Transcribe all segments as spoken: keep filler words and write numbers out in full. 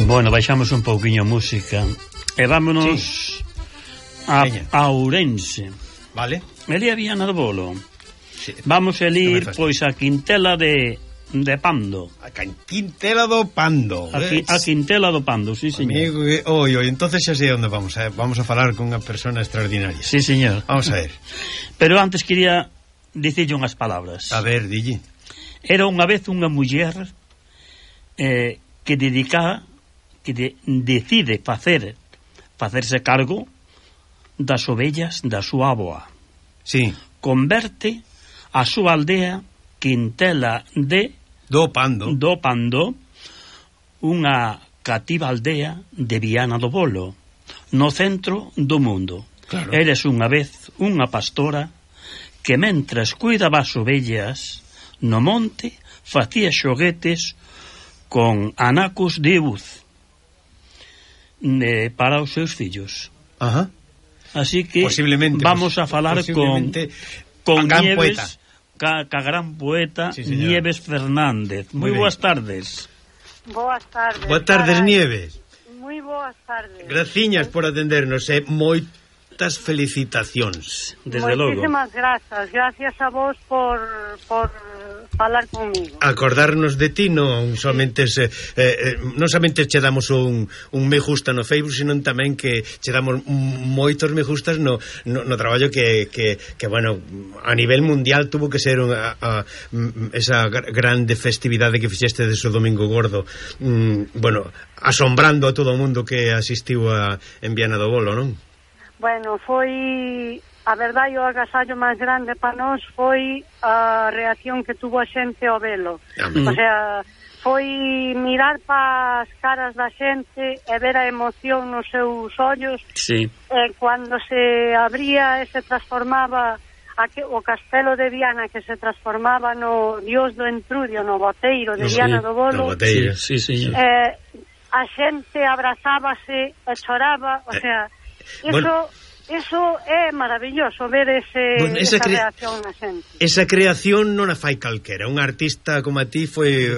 Bueno, baixamos un pouquiño a música e vámonos sí. a, a Ourense. Vale. Elí a Viana do Bolo. Sí. Vamos a ir, pois, a Quintela de, de Pando. A Quintela do Pando. A, qui, a Quintela do Pando, sí, señor. Amigo, oi, oi, entonces xa sei onde vamos. Eh? Vamos a falar con unha persona extraordinaria. Sí, señor. Vamos a ver. Pero antes quería dicirlle unhas palabras. A ver, dille. Era unha vez unha muller eh, que dedica que de, decide facer facerse cargo das ovellas da súa avoa. Sí. Converte a súa aldea Quintela de do Pando, do Pando unha cativa aldea de Viana do Bolo, no centro do mundo. Claro. Eres unha vez unha pastora que mentras cuidaba as ovellas no monte facía xoguetes con anacos de buz eh, para os seus fillos. Ajá. Así que vamos a falar con con Nieves, ca, ca gran poeta, sí, Nieves Fernández. Moi boas tardes. Boas tardes. Boas tardes, caray. Nieves. Moi boas tardes. Graciñas por atendernos, eh. Moitas felicitacións. Desde logo. Moitísimas grazas. Gracias a vos por por falar comigo. Acordarnos de ti non somente se, eh, non somente che damos un, un me gusta no Facebook, sino tamén que che damos moitos me gustas no, no, no traballo que, que, que, bueno, a nivel mundial tuvo que ser unha, a, esa grande festividade que fixeste de so Domingo Gordo, mm, bueno, asombrando a todo o mundo que asistiu a, en Viana do Bolo, non? Bueno, foi... A verdade, o agasallo máis grande para nós foi a reacción que tuvo a xente ao velo. Mm. O sea, foi mirar para as caras da xente e ver a emoción nos seus ollos. Sí. E cando se abría e se transformaba a que, o castelo de Viana, que se transformaba no Dios do Entrudio, no boteiro de sí, Viana do Bolo. No boteiro, sí, sí, sí. Eh, a xente abrazábase e choraba, o sea, eso... Bueno, eso é maravilloso, ver ese, bueno, esa, esa reacción na xente. Esa creación non a fai calquera. Un artista como a ti foi,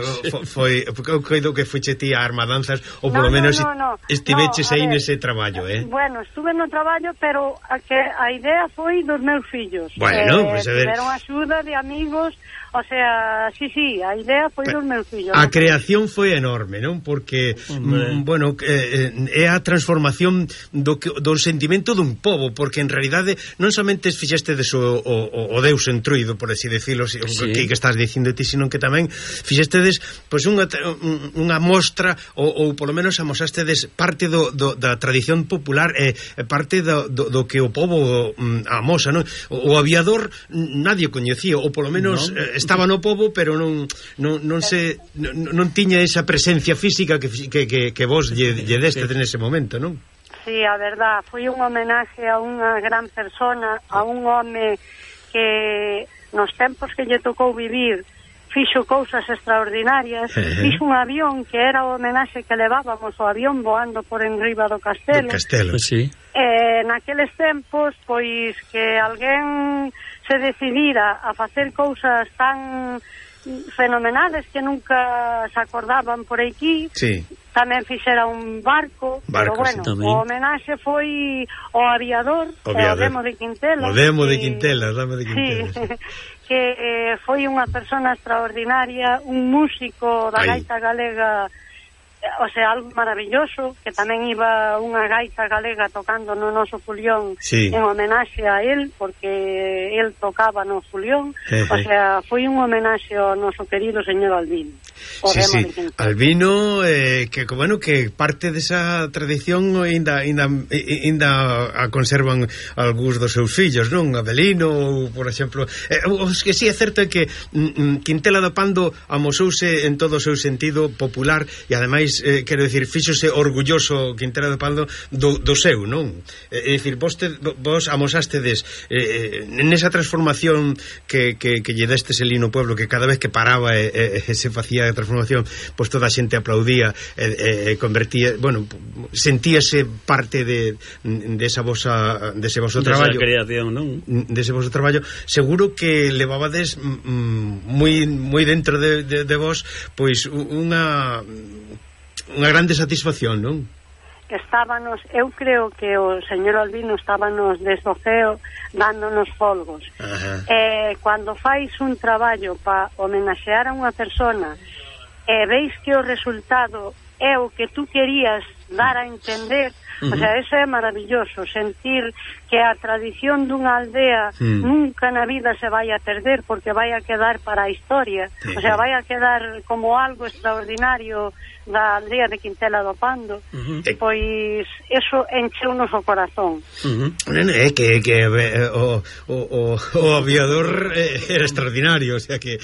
foi, foi coido que fuiche ti a Armadanzas, ou polo no, menos no, no, no. estiveches no, aí ver, nese traballo, eh? Bueno, estuve no traballo, pero a, que a idea foi dos meus fillos. Bueno, eh, pues a ver. Tiveron axuda de amigos, o sea, sí, sí, a idea foi dos meus fillos. A creación foi enorme, non? Porque, mm, bueno, eh, é a transformación do, do sentimento dun pobo, porque en realidade non somente fixestedes o, o, o Deus entruido, por así decirlo, sí. que, que estás dicindo ti, sino que tamén fixestedes pois unha, unha mostra ou, ou polo menos amosastedes parte do, do, da tradición popular e eh, parte do, do, do que o povo mm, amosa, non? O, o aviador nadie coñecía, ou polo menos no. eh, estaba no pobo, pero non non, non se non, non tiña esa presencia física que, que, que, que vos lle, lle destes nese momento, non? Sí, a verdad, foi un homenaje a unha gran persona, a un home que nos tempos que lle tocou vivir fixo cousas extraordinarias, uh-huh. fixo un avión que era o homenaxe que levábamos o avión voando por enriba do castelo. Do castelo, sí. E naqueles tempos, pois que alguén se decidira a facer cousas tan fenomenales que nunca se acordaban por aquí. Sí. Tamén fixera un barco, barco, pero bueno, sí, o homenaxe foi o aviador, o, o Demo de Quintela. O Demo de Quintela, o Demo de Quintela. Sí, sí. Que eh, foi unha persona extraordinaria, un músico da Ay. gaita galega, o sea, algo maravilloso, que tamén iba unha gaita galega tocando no noso Fulión, sí. en homenaxe a él, porque él tocaba no Fulión. O sea, foi un homenaxe ao noso querido señor Albino. Sí, sí. Albino, eh, que bueno, que parte desa tradición ainda ainda ainda a conservan algúns dos seus fillos, non? Abelino, por exemplo, eh, os que si sí é certo é que mm, Quintela do Pando amosouse en todo o seu sentido popular e ademais, eh, quero dicir, fíxose orgulloso Quintela do Pando do, do seu, non? É eh, dicir, vos, te, vos amosástedes eh, nesa transformación que, que, que lle destes elí no pueblo, que cada vez que paraba e eh, eh, se facía da transformación, pois toda a xente aplaudía e, e convertía, bueno, sentíase parte de desa vosa dese voso traballo, creación, non? Dese voso traballo, seguro que levabades mm, moi moi dentro de, de, de vos, pois unha unha grande satisfacción, non? Estábanos, eu creo que o señor Albino estábanos desde o ceo dándonos folgos. Eh, cando fais un traballo para homenaxear a unha persona e veis que o resultado é o que tú querías dar a entender, uh-huh. O sea, eso é maravilloso, sentir que a tradición dunha aldea uh-huh. nunca na vida se vai a perder, porque vai a quedar para a historia, uh-huh. O sea, vai a quedar como algo extraordinario da aldea de Quintela do Pando, uh-huh. Pois eso encheu-nos o corazón. Uh-huh. É que, que eh, o, o, o, o aviador eh, era extraordinario, o sea que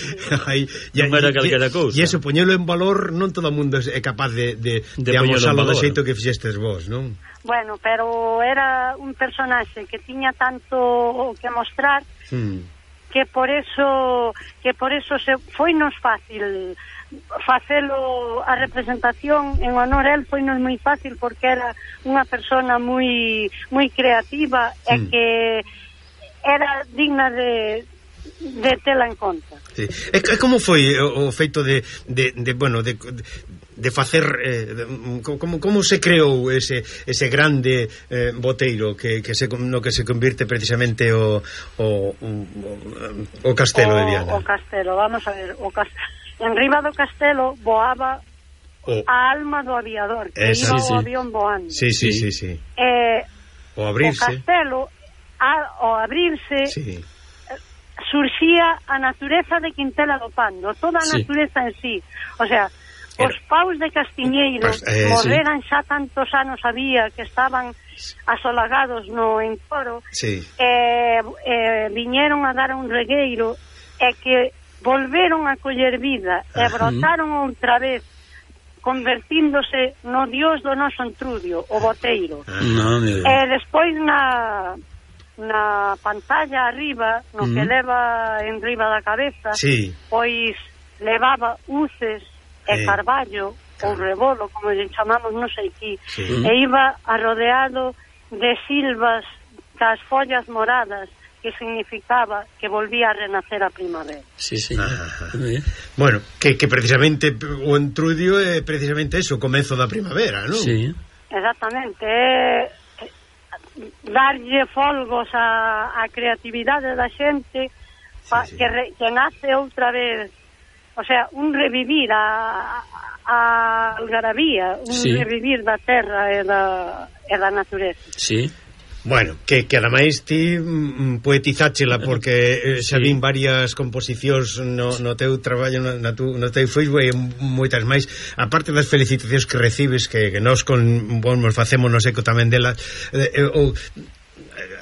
hai, non era calquera cousa. E eso, poñelo en valor, non todo o mundo é capaz de, de, de, de amosalo do xeito que fixestes vos, non? Bueno, pero era un personaxe que tiña tanto que mostrar, hmm. que por eso que por eso se foinos fácil facelo a representación en honor a él, foinos moi fácil porque era unha persona moi moi creativa hmm. e que era digna de de tela en conta. Sí. E como foi o, o feito de, de, de bueno, de, de facer eh, de, como, como se creou ese, ese grande eh, boteiro que, que se, no que se convirte precisamente o, o, o, o castelo o, de Viana? O castelo, vamos a ver, o castelo, en riba do castelo voaba o, a alma do aviador, que esa, iba sí, o avión voando. Sí, sí, sí, sí. Eh, o abrirse. O castelo, a, o abrirse... Sí. Surxía a natureza de Quintela do Pando, toda a natureza sí. en sí, o sea, os paus de Castiñeiro pues, eh, morreran sí. xa tantos anos había que estaban asolagados no encoro, sí. e eh, viñeron a dar un regueiro e que volveron a coller vida e brotaron outra vez convertíndose no dios do noso entrudio, o boteiro. No, e despois na na pantalla arriba, no mm. que leva en riba da cabeza, sí. pois levaba uces e eh. carballo, ou rebolo, como lle chamamos, non sei qui, sí. e iba arrodeado de silvas das follas moradas, que significaba que volvía a renacer a primavera. Sí, sí. Ah, bueno, que, que precisamente o entrudio é precisamente eso, o comezo da primavera, non? Sí. Exactamente, é darlle folgos a, a creatividade da xente pa, sí, sí. Que, re, que nace outra vez, o sea, un revivir a, a algarabía, un sí. revivir da terra e da, e da natureza. Sí. Bueno, que, que ademais ti mm, poetizáchela porque eh, xa vin varias composicións no, no teu traballo, no, no, tu, no teu Facebook e moitas máis, aparte das felicitacións que recibes, que, que nós con bon, nos facemos no seco tamén delas, eh, eh, o,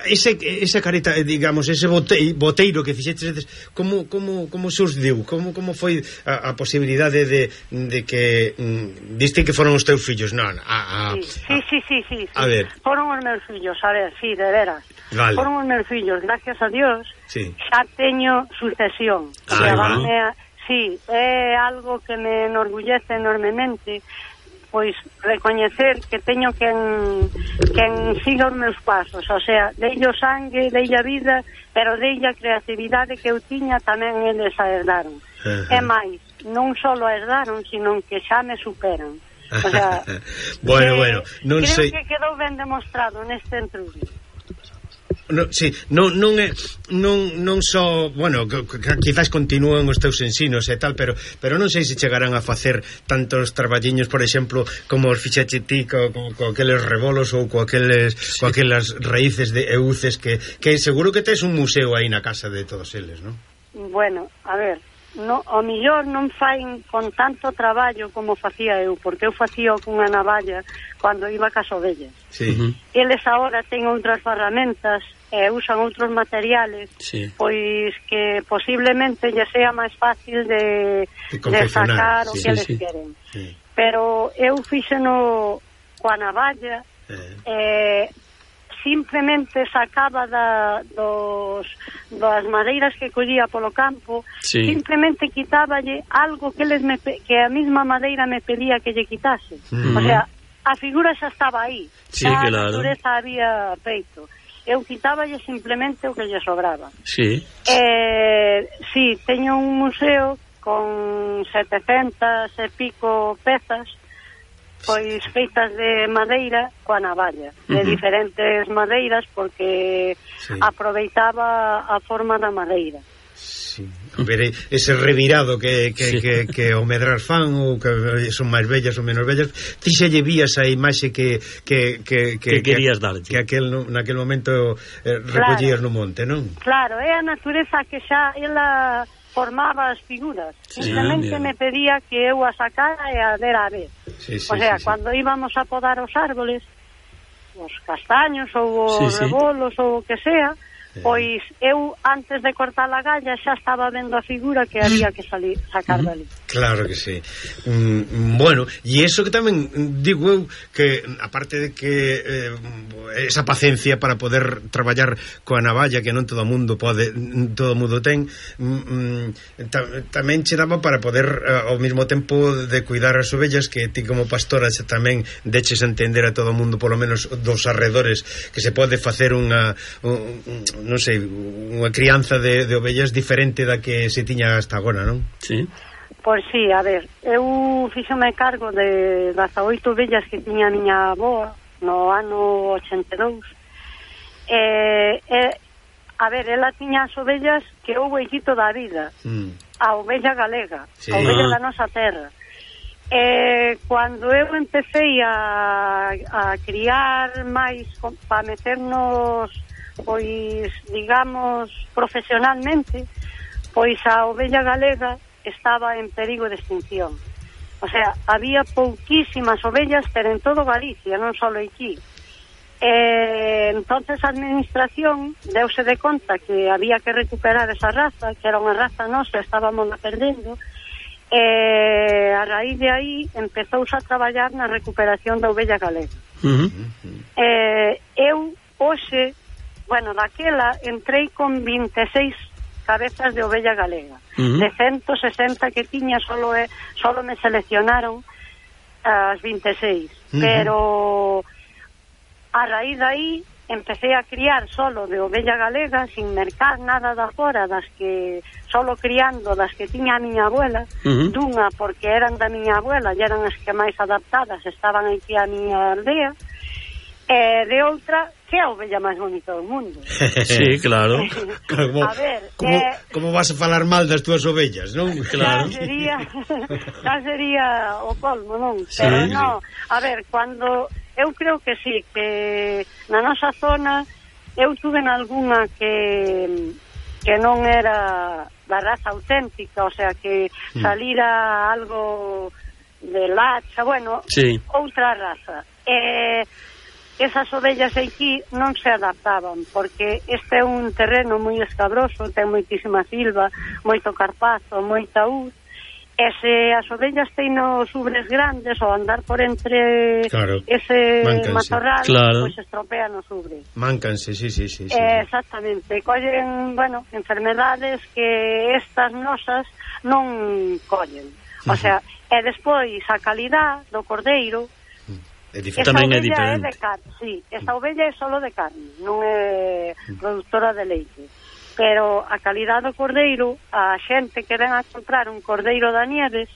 ese, esa careta, digamos, ese boteiro, boteiro que fixetes, como, como, como se os deu? Como, como foi a, a posibilidade de, de que mm, diste que foron os teus fillos? Non, a, a, sí, sí, sí, sí, sí, a ver. Foron os meus fillos, a ver, sí, de veras. Vale. Foron os meus fillos, gracias a Dios, sí. xa teño sucesión. Ah, a, sí, é algo que me enorgullece enormemente, pois recoñecer que teño quen, quen siga os meus pasos, o sea, deille o sangue, deille a vida, pero deille a creatividade que eu tiña, tamén eles a herdaron. Uh-huh. E máis, non só a herdaron, sino que xa me superan. O sea, bueno, que, bueno, non creo sei... que quedou ben demostrado neste entrudio. No, sí, non, non é non, non só, bueno, quizás continúan os teus ensinos e tal, pero pero non sei se chegarán a facer tantos traballiños, por exemplo, como os fixache ti co, co, co aqueles rebolos ou co aqueles, sí. co aquelas raíces de euces que, que seguro que tes un museo aí na casa de todos eles, non? Bueno, a ver, no, o millor non fain con tanto traballo como facía eu, porque eu facía cunha navalla cando iba cas ovellas. Sí. Uh-huh. Eles agora ten outras ferramentas e usan outros materiales, sí. pois que posiblemente lle sea máis fácil de, de, de sacar sí. o que sí, eles sí. queren. Sí. Pero eu fixeno coa navalla, eh. e simplemente sacaba da, dos, das madeiras que collía polo campo, sí. simplemente quitáballe algo que, les me, que a mesma madeira me pedía que lle quitase. Uh-huh. O sea, a figura xa estaba aí, sí, xa claro. a natureza había feito. Eu quitáballe simplemente o que lle sobraba. Sí. Eh, sí, teño un museo con setecentas e pico pezas, pois feitas de madeira coa navalla, uh-huh. de diferentes madeiras, porque sí. aproveitaba a forma da madeira. Sí. A ver, ese revirado que, que, sí. que, que o medrar fan, ou que son máis bellas ou menos bellas, ti xa lle vías a imaxe que que, que, que, que querías darlle, que aquel, naquel momento eh, recollías claro. no monte, non? Claro, é a natureza que xa ela formaba as figuras, sí, simplemente me pedía que eu a sacara e a dera a ver. Sí, sí, o sea, sí, cando sí. íbamos a podar os árboles, os castaños ou os sí, rebolos sí. ou o que sea, pois eu antes de cortar a galla xa estaba vendo a figura que había que salir, sacar dali. Claro que sí. Mm, bueno, e iso que tamén digo eu, que aparte de que eh, esa paciencia para poder traballar coa navalla, que non todo o mundo pode, todo o mundo ten, mm, ta, tamén che daba para poder eh, ao mesmo tempo de cuidar as ovellas, que ti como pastora xa tamén deches a entender a todo o mundo, polo menos dos arredores, que se pode facer unha un, non sei, unha crianza de, de ovellas diferente da que se tiña hasta agora, non? Sí. Pois sí, a ver, eu fíxome cargo de dezaoito ovellas que tiña a miña avoa no ano ochenta e dous. E, e, a ver, ela tiña as ovellas que houve equito da vida, mm. a ovella galega, sí. a ovella da nosa terra. E cando eu empecé a, a criar máis para meternos, pois, digamos, profesionalmente, pois a ovella galega estaba en perigo de extinción. O sea, había pouquísimas ovellas, pero en todo Galicia, non só aquí. E, entonces a administración deuse de conta que había que recuperar esa raza, que era unha raza nosa, estábamos la perdendo, e a raíz de aí empezouse a traballar na recuperación da ovella galega. Uh-huh. E, eu, hoxe, bueno, daquela entrei con vinte e seis cabezas de ovella galega. Uh-huh. De ciento sesenta que tiña, solo, é, solo me seleccionaron as vinte e seis. Uh-huh. Pero a raíz de aí empecé a criar solo de ovella galega, sin mercar nada da fora, das que solo criando das que tiña a miña abuela, uh-huh. dunha porque eran da miña abuela e eran as que máis adaptadas, estaban aquí a miña aldea, e de outra que é a ovella máis bonita do mundo. Sí, claro. Como, a ver, como, eh, como vas a falar mal das túas ovellas, non? Claro. Xa sería, xa sería o colmo, non? Sí, pero sí. non, a ver, cando eu creo que sí, que na nosa zona eu tuve nalgúna que que non era da raza auténtica, o sea, que salira algo de lacha, bueno, sí. outra raza. E esas ovellas aquí non se adaptaban, porque este é un terreno moi escabroso, ten moitísima silva, moito carpazo, moita uz, e se as ovellas teñen os ubres grandes ou andar por entre claro, ese mancanse. Matorral, claro. Pois estropean os ubres. Mancanse, sí, sí, sí, sí. Eh, exactamente, collen, bueno, enfermedades que estas nosas non collen. O sea, e despois a calidad do cordeiro é tamén é diferente. É de carne, sí, esta ovella é solo de carne, non é productora de leite. Pero a calidad do cordeiro, a xente que ven a comprar un cordeiro da Nieves,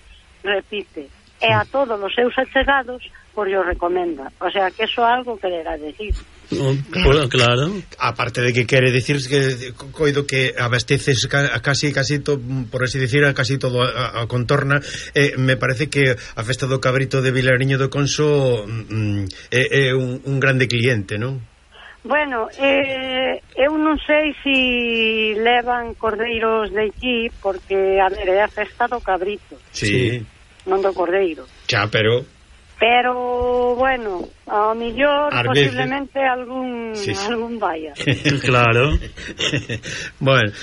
repite. E a todos os seus achegados, pois o recomenda. O sea, que eso é algo que quererá decir. Bueno, claro. Aparte de que quere decir que coido que abasteces casi casi to, por así decir, a casi todo a, a contorna, eh, me parece que a festa do cabrito de Vilariño do Conso mm, é, é un, un grande cliente, non? Bueno, eh, eu non sei se si levan cordeiros de aquí, porque, a ver, é a festa do cabrito. Sí. Non do cordeiro. Xa, pero... Pero, bueno, ao millor Ar posiblemente veces... algún sí, sí. algún vaya. Claro. Bueno,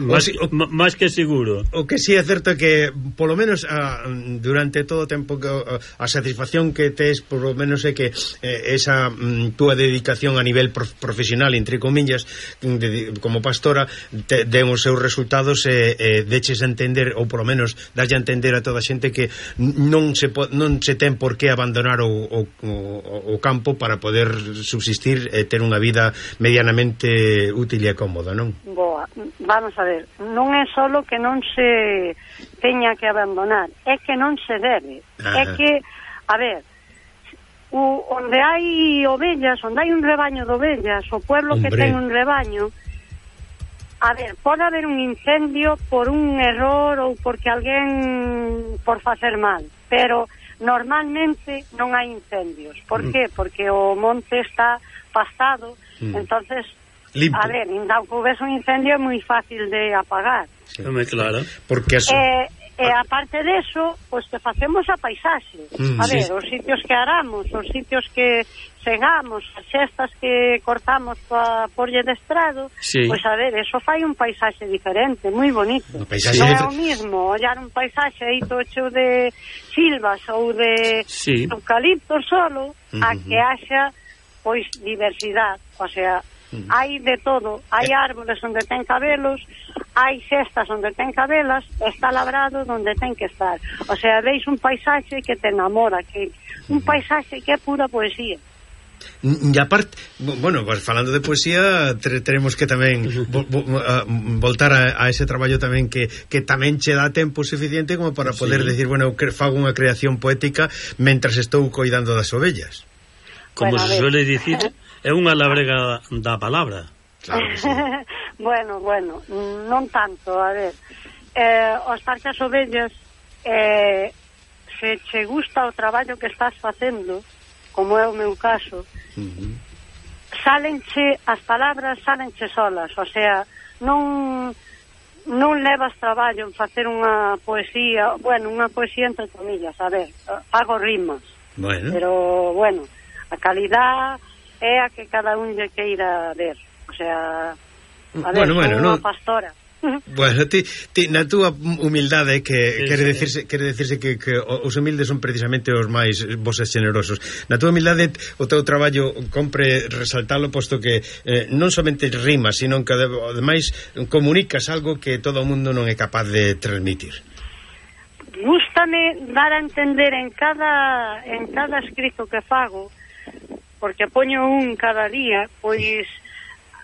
máis, o, máis que seguro. O que sí é certo é que polo menos a, durante todo o tempo que a, a satisfacción que tes polo menos é que eh, esa mm, túa dedicación a nivel prof, profesional, entre comillas, de, como pastora, te, den os seus resultados e eh, eh, deches a entender, ou polo menos dalle a entender a toda a xente que non se, po, non se ten por que abandonar o, o, o o campo para poder subsistir e ter unha vida medianamente útil e cómoda, non? Boa, vamos a ver, non é solo que non se teña que abandonar, é que non se debe. Ajá. É que, a ver, o, onde hai ovellas, onde hai un rebaño de ovellas, o pueblo Hombre. que ten un rebaño, a ver, pode haber un incendio por un error ou porque alguén por facer mal, pero normalmente non hai incendios. Por qué? Porque o monte está pastado, mm. entonces, limpo. A ver, ainda que houvese un incendio é moi fácil de apagar. Sí. É claro. Porque eso... Eh, e aparte deso, pois que facemos a paisaxe. Mm, a ver, sí. Os sitios que aramos, os sitios que segamos, as xestas que cortamos para porlle de estrado, sí. Pois a ver, eso fai un paisaxe diferente, moi bonito. Non é o mismo ollar un paisaxe aí todo cheo de silvas ou de sí. eucaliptos solo, uh-huh. a que haxa pois diversidade, o sea, uh-huh. hai de todo, hai árboles onde ten cabelos, hai cestas onde ten cabelas, está labrado onde ten que estar. O sea, veis un paisaxe que te enamora, que un paisaxe que é pura poesía. E aparte, bueno, falando de poesía, teremos que tamén vo, vo, a, voltar a, a ese traballo tamén que, que tamén che dá tempo suficiente como para poder sí. decir, bueno, que fago unha creación poética mentras estou coidando das ovellas. Como bueno, se suele dicir, é unha labrega da palabra. Claro que sí. Bueno, bueno, non tanto, a ver, eh, os parques ovellas, eh, se che gusta o traballo que estás facendo, como é o meu caso, uh-huh. sálenche, as palabras sálenche solas, o sea, non non levas traballo en facer unha poesía, bueno, unha poesía entre comillas, a ver, fago rimas, bueno. Pero, bueno, a calidad é a que cada un lle queira ver, o sea, a ver, bueno, bueno, unha no... pastora. Bueno, ti, ti, na túa humildade que sí, quere, sí. Decirse, quere decirse que, que os humildes son precisamente os máis voces generosos. Na túa humildade o teu traballo compre resaltalo, posto que eh, non somente rimas, sino que ademais comunicas algo que todo o mundo non é capaz de transmitir. Gústame dar a entender en cada en cada escrito que fago, porque poño un cada día, pois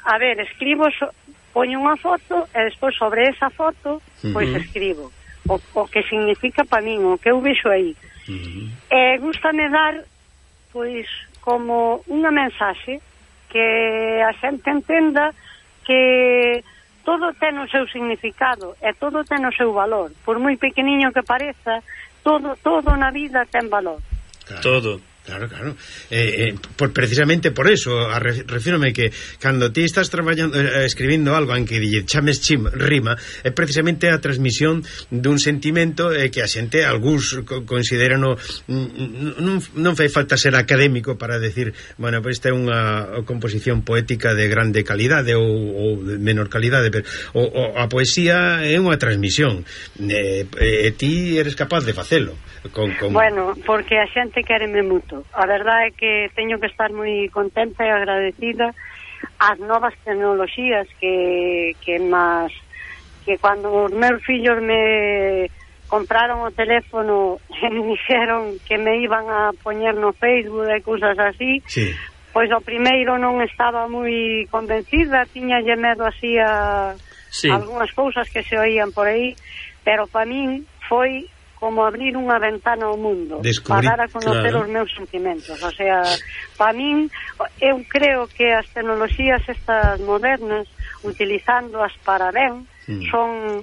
a ver, escribo so, poño unha foto e despois sobre esa foto pois uh-huh. escribo o, o que significa para min, o que eu vexo aí. Uh-huh. E gústame dar pois como unha mensaxe que a xente entenda que todo ten o seu significado e todo ten o seu valor, por moi pequeniño que pareza, todo todo na vida ten valor. Claro. Todo. Claro, claro. Eh, eh, por, precisamente por eso, a re, refírome que cando ti estás traballando, eh, escribindo algo en que lle chames chim, rima, é precisamente a transmisión dun sentimento eh, que a xente, algúns consideran non, non fai falta ser académico para decir, bueno, pues esta é unha composición poética de grande calidade ou, ou de menor calidade, pero o, o, a poesía é unha transmisión. E eh, eh, ti eres capaz de facelo. Con, con... Bueno, porque a xente quéreme moito. A verdade é que teño que estar moi contenta e agradecida ás novas tecnoloxías que que máis que cando os meus fillos me compraron o teléfono e me dixeron que me iban a poñer no Facebook e cousas así, sí. Pois o primeiro non estaba moi convencida, tiñalle medo así a sí. algunhas cousas que se oían por aí, pero para min foi como abrir unha ventana ao mundo, Descubrí, para dar a conocer claro. Os meus sentimentos. O sea, para min, eu creo que as tecnoloxías estas modernas, utilizándoas para ben, mm. son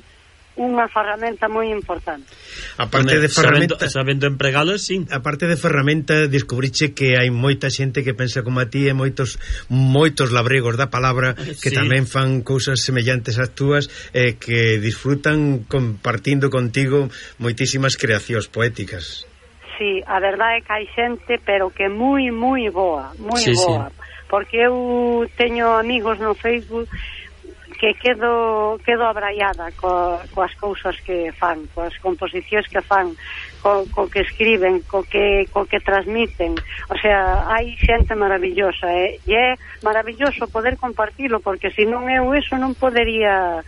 unha ferramenta moi importante. Aparte de ferramenta, sabendo, sabendo empregalas, sí. Aparte de ferramenta, descubriche que hai moita xente que pensa como a ti e moitos moitos labregos da palabra que sí. tamén fan cousas semellantes ás túas e eh, que disfrutan compartindo contigo moitísimas creacións poéticas. Sí, a verdade é que hai xente, pero que moi, moi boa, moi sí, boa. Sí. Porque eu teño amigos no Facebook que quedo quedo abraiada co, coas cousas que fan, coas composicións que fan, co, co que escriben, co que co que transmiten. O sea, hai xente maravillosa, eh? E é maravilloso poder compartilo, porque se non eu eso non podería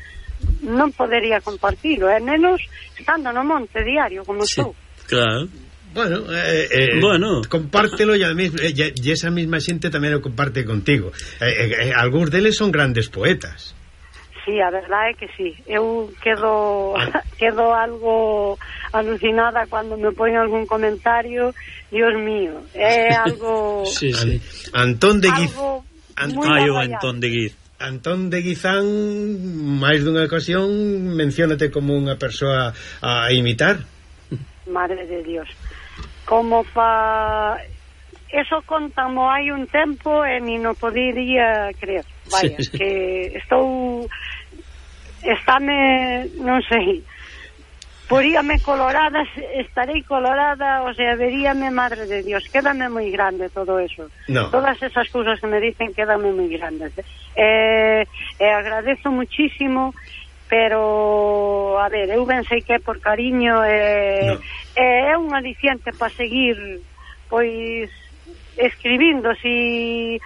non podería compartilo, eh? Menos estando no monte diario como sí, estou. Claro. Bueno, eh, eh, bueno, compártelo e, e, e esa mesma xente tamén o comparte contigo. Eh, eh, algúns deles son grandes poetas. Sí, a verdade é que sí. Eu quedo quedo algo alucinada cando me poñen algún comentario. Dios mío, é algo... sí, sí. Antón de Guiz... Ai, o Antón de Guiz. Antón de Guizán, máis dunha ocasión, menciónate como unha persoa a imitar. Madre de Dios. Como pa... Eso contamo hai un tempo e ni no podería creer. Vaya, sí, que estou... Estáme, non sei... Poríame colorada, estarei colorada, o sea, veríame, madre de Dios, quédame moi grande todo eso. No. Todas esas cousas que me dicen quédame moi grandes. Eh, eh, agradezo muchísimo, pero, a ver, eu ben sei que é por cariño, eh, no. eh, é un aliciente para seguir, pois, escribindo, si,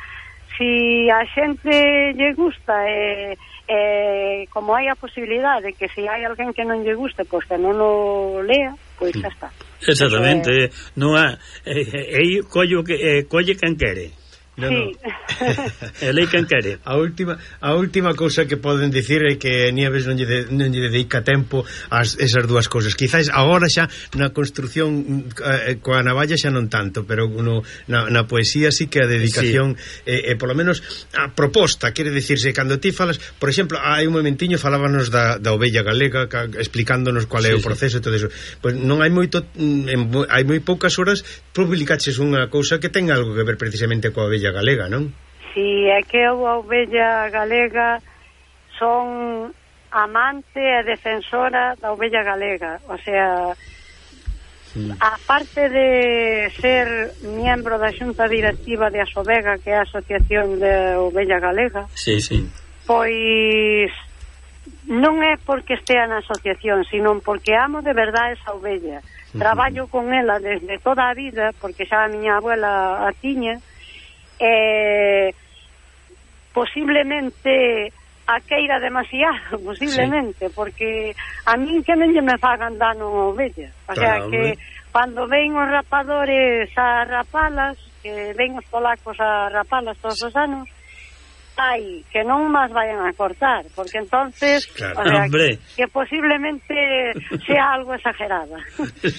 si a xente lle gusta, eh, eh, como hai a posibilidade de que se hai alguén que non lle guste, pois que non o lea, pois xa está. Exactamente, eh, non há eh, eh, collo que eh, colle quen quere. No, sí. no. Elei quen quere. A última a última cousa que poden dicir é que Nieves non lle, de, non lle dedica tempo a esas dúas cousas. Quizás agora xa na construción eh, coa navalla xa non tanto, pero no, na, na poesía sí que a dedicación sí. eh, eh, polo menos a proposta, quere dicirse, cando ti falas, por exemplo, hai un momentiño falábanos da, da ovella galega, ca, explicándonos cual é sí, o proceso sí. e todo eso. Pois non hai moito en, hai moi poucas horas publicaches unha cousa que ten algo que ver precisamente coa ovella galega, non? Si, é que a ovella galega son amante e defensora da ovella galega, o sea, mm. aparte de ser miembro da xunta directiva de Asovega, que é a Asociación de Ovella Galega, sí, sí. pois non é porque estea na asociación, sino porque amo de verdade esa ovella. Mm-hmm. Traballo con ela desde toda a vida, porque xa a miña abuela a tiña, eh, posiblemente a queira demasiado, posiblemente, sí. porque a min que non lle me fagan dano a ovella, o sea claro, que cando ven os rapadores a rapalas, que ven os polacos a rapalas todos os anos, ai, que non máis vayan a cortar, porque entonces claro. o sea, que, que posiblemente sea algo exagerada.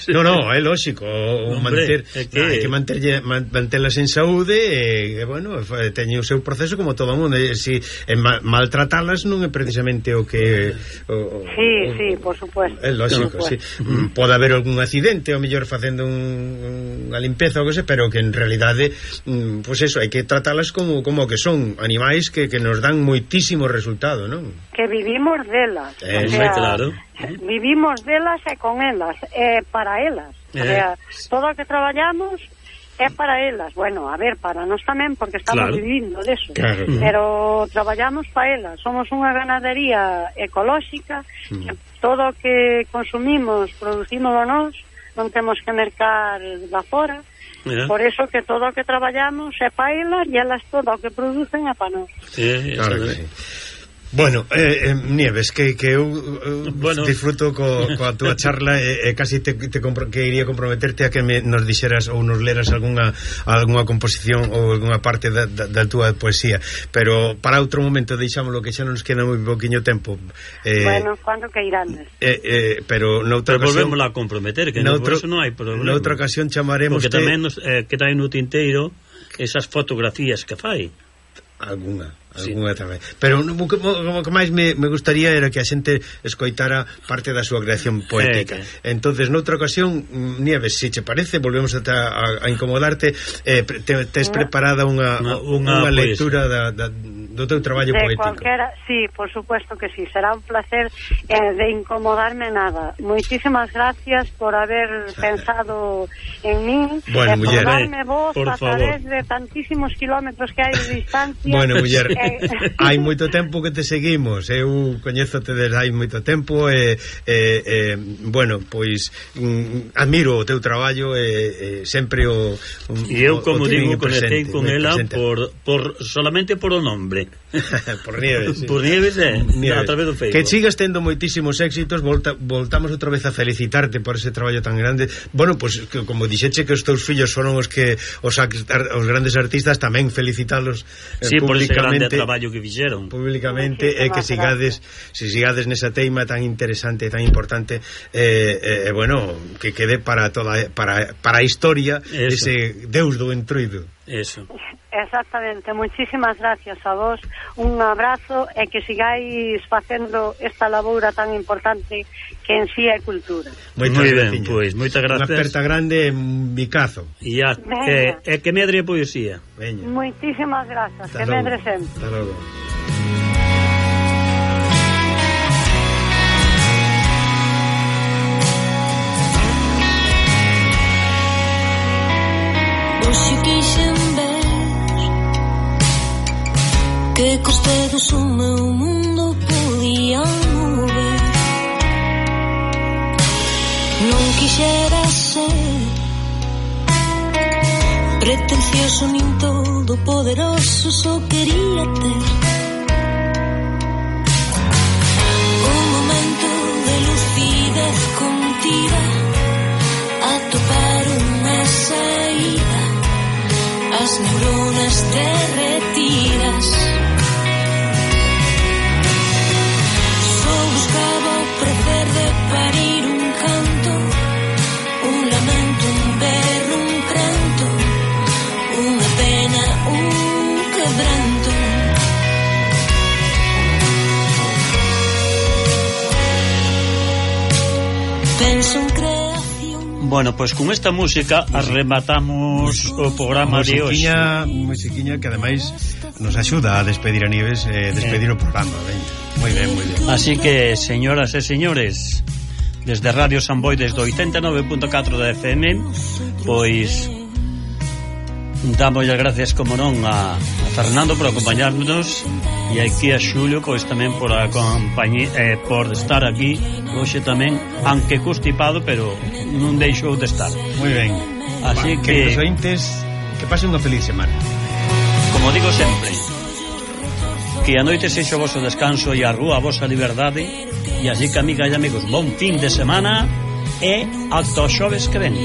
No, no, é lógico, o manter, é que... hai que manterlle, mantelas en saúde e, e bueno, teñen o seu proceso como todo o mundo, e si e ma, maltratalas non é precisamente o que o, Sí, o, sí, por supuesto. É lógico, sí. Pode haber algún accidente, ou mellor facendo un, unha limpeza ou que sei, pero que en realidade pois pues eso, hai que tratalas como como que son animais que, que nos dan moitísimo resultado, non? Que vivimos delas, eh, o sea, claro. Vivimos delas e con elas, e para elas, eh. o sea, todo o que traballamos é para elas, bueno, a ver, para nós tamén, porque estamos claro. vivindo deso, claro. pero traballamos para elas, somos unha ganadería ecolóxica, mm. que todo o que consumimos, producimos nós, non temos que mercar da fora. Yeah. Por eso que todo o que traballamos é para elas e elas todo o que producen é para nós. Sí, claro que sí. Bueno, eh, eh, Nieves, que, que eu eh, bueno. disfruto co, coa túa charla e eh, casi te, te compro, que iría comprometerte a que me, nos dixeras ou nos leras algunha, algunha composición ou algunha parte da, da, da túa poesía, pero para outro momento deixámoslo, que xa non nos queda moi poquinho tempo. Eh, bueno, cando que irán? Eh, eh, pero noutra pero ocasión volvémosla a comprometer, que no, por eso non hai problema. Noutra ocasión chamaremos porque tamén nos, eh, queda aí no tinteiro esas fotografías que fai. Alguna, alguna sí. tamén. Pero o que, o que máis me, me gustaría era que a xente escoitara parte da súa creación poética. Eh, okay. Entonces, noutra ocasión, Nieves, se che parece, volvemos a, a, a incomodarte, eh, te, tes preparada unha, unha, unha lectura da, da, do teu traballo de poético. Cualquiera, sí, por supuesto que sí, será un placer eh, de incomodarme nada. Muchísimas gracias por haber pensado en mí, bueno, e por muller, darme voz por a través de tantísimos kilómetros que hai de distancia. Bueno, muller, eh, hai moito tempo que te seguimos, eu coñézote desde hai moito tempo e, e, e bueno, pois mm, admiro o teu traballo e, e sempre o, o e eu, como o digo, conectei presente, con ela por, por solamente por o nombre. Por Nieves, sí. Por Nieves, eh, Nieves. A través do Facebook. Que sigas tendo moitísimos éxitos, volta, voltamos outra vez a felicitarte por ese traballo tan grande. Bueno, pois pues, como dixeche que os teus fillos foron os que os, os grandes artistas, tamén felicitalos eh, sí, por ese grande públicamente, traballo que fixeron. Públicamente, e que sigades, se sigades nesa teima tan interesante, tan importante, eh, eh, bueno, que quede para toda para para a historia. Eso. Ese Deus do Entroido. Eso. Exactamente, muchísimas gracias a vos, un abrazo e que sigáis facendo esta laboura tan importante que en sí é cultura. Moi ben, pois, moitas gracias. Unha aperta grande en Micazo. E a, eh, eh, que medre a poesía. Veña. Muchísimas gracias, hasta que logo. Medre sempre. Hasta logo. Hoxe quixen ver que cos dedos o meu mundo podía mover. Non quixera ser pretencioso nin todo poderoso, só quería ter un momento de lucidez contida, atopar unha saída, as neuronas derretidas. Só buscaba o prazer de parir un canto, un lamento, un berro, un pranto, unha pena, un quebranto. Penso en creación. Bueno, pois pues con esta música arrematamos o programa de hoxe. Musiquiña que ademais nos axuda a despedir a Nieves, eh, despedir eh. o programa, veña. Moi ben, moi ben. Así que, señoras e señores, desde Radio San Boi, desde oitenta e nove punto catro da F M, pois damos as gracias, como non, a, a Fernando por acompañarnos, e aquí a Xulio, pois tamén por acompañar, eh, por estar aquí hoxe tamén, aunque constipado, pero non deixou de estar. Moi ben. Así Va, que, que os ointes, que pasen unha feliz semana. Como digo sempre, que a noite sexa o vosso descanso e a rúa a vosa liberdade, e así que, amigas e amigos, bon fin de semana e ata os xoves que ven.